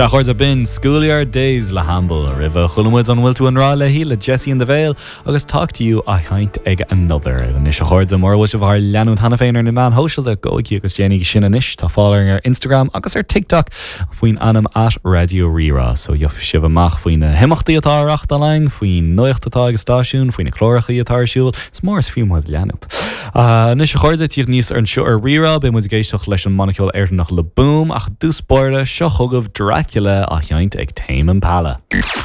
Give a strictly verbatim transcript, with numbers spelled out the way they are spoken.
Sea a chairde b'in Schoolyard Days le Hamble roimhe chuala muid an bhfuil tú i ngrá léi le Jesse and the Veil agus Talk to You á sheinnt ag Another. Anois a chairde mura bhfuil sibh ár leanúint cheana féin ar na meáin shóisialta gabhaigí agus déanaigí sin anois tá fáil ar Instagram agus ar TikTok faoin ainm at Radio Rí-Rá, so gheobhaidh sibh amach faoi na himeachtaí atá á reáchtáil againn, faoin nuacht atá ag an stáisiún, faoi na cláracha atá ar siúl, is mór is fiú muid leanúint. Anois a chairde tíocht níos ar anseo ar Rí-Rá beidh muid ag éisteacht leis an mbanna ceoil Éireannach Le Boom ach dtús báire seo chugaibh Dracula á sheinnt ag Tame Impala.